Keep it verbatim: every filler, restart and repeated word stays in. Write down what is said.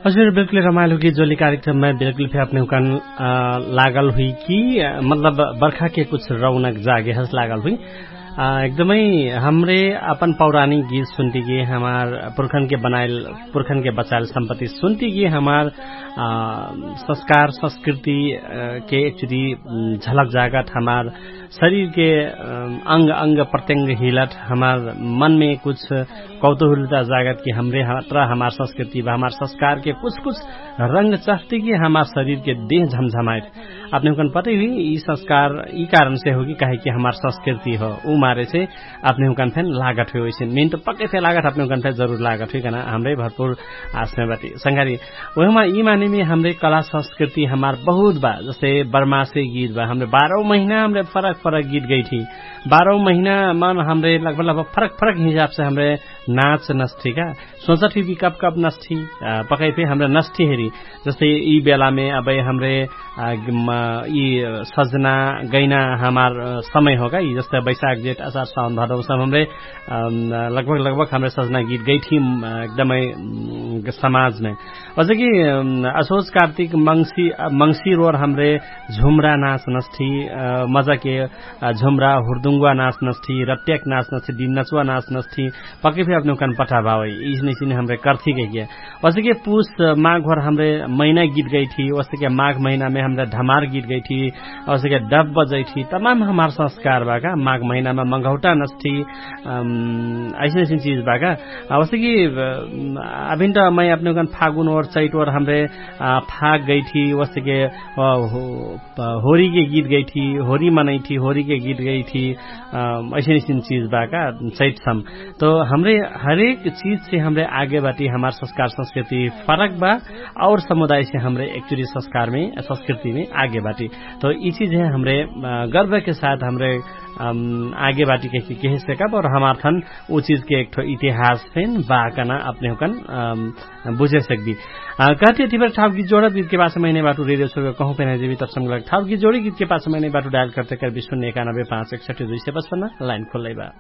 हजुर बिल्कुल रमाइल हुकी जोली कार्यक्रममा बिल्कुल फे अपने हुकन लागल हुई कि मतलब बर्खाके कुछ रौनक जागे हस लागल हुई। एकदमै हमरे अपन पौराणिक गीत सुन्तिकी हमार पुर्खनके बनाइल पुर्खनके बचाइल सम्पत्ति सुन्तिकी हमार संस्कार संस्कृतिके एकचुरी झलक जागत हमार शरीरके अंग अंग प्रत्यंग हिलत हमार मनमे कुछ कौतुहलता जागत कि हमरे हमार संस्कृति बा हमार संस्कारके कुछ कुछ रंग चहतिकी हमार शरीरके देह झमझमाइत। अपने हुकन पतै हुई यि संस्कार यि कारणसे होगी काहेकि हमार संस्कृति हो उ मारेसे अपने हुकन फेन लागत हुई वैसे मेन त पक्कै फेन लागत अपने हुकन फेन जरुर लागत हुई कहना हमरे भरपुर आसमे बाटी संघारी। ओहिमा यि मानेमे हमरे कला संस्कृति हमार बहुत बा जस्ते बर्मासे गीत बा हमरे बारौ महिना हमरे फरक फरक गीत गैठी। बारौ महिना मन हमरे लगभग लगभग फरक फरक हिसाबसे हमरे नाच नस्ठी का सोचत हुई कि कब कब नस्ठी पकै फे हमरे नस्ठी हेरी। जस्ते यि बेलामे अबै हमरे यि सजना गैना हमार समय होगा यि जस्ते बैशाख जेठ असार साउन भदौ सब हमरे लगभग लगभग हमरे सजना गीत गैठी एकदमै समाजमे। ओसे कि असोज कार्तिक मंगसिर ओर हमरे झुम्रा नाच नस्ठी मजाके झुम्रा हुर्दुङ्गुवा नाच नस्ठी रट्याक नाच नस्ठी दिननचुवा नाच नस्ठी पक्कै फे अपने हुकन पठा भावै इसने इसने हमरे कर्थी कहिके। ओसे कि पुस माघ भर हमरे महिना गीत गैठी ओसे कि माघ महिनामे हमरे धमार गीत गैठी ओसे कि डब बजैठी तमाम हमार संस्कार बा का माघ महिनामे मघौटा नस्ठी अइसन अइसन चिज बा का। ओसे कि अभिन त मै अपने हुकन फागुन ओर चैट ओर हमरे फाग गैठी ओसे कि होरीके गीत गैठी होरी मनैठी होरीके गीत गैठी अइसन अइसन चिज बा का। चैट सम तो हमरे हरेक चिजसे हमरे आगे बाटी हमार संस्कार संस्कृति फरक बा और समुदायसे हमरे एक्चुरी संस्कारमे संस्कृतिमे आगे बाटी। तो यि चिजहे हमरे गर्वके साथ हमरे आगे बाटी कहिके कहे सकब और हमार थन उ चिजके एकठो इतिहास फेन बा कहना अपने हुकन बुझे सकबी। कहती है तिबर ठाउकी जोड़ा गीत के पास मैंने बाटू रेडियो सुरु कहूँ पेना जेबी तब समगलक ठाउकी जोड़ी गीत के पास मैंने बाटू डायल करते कर विश्व नेकानबे पाँच एक सट्ठी दुई से बस पन्ना लाइन खोल लैबा।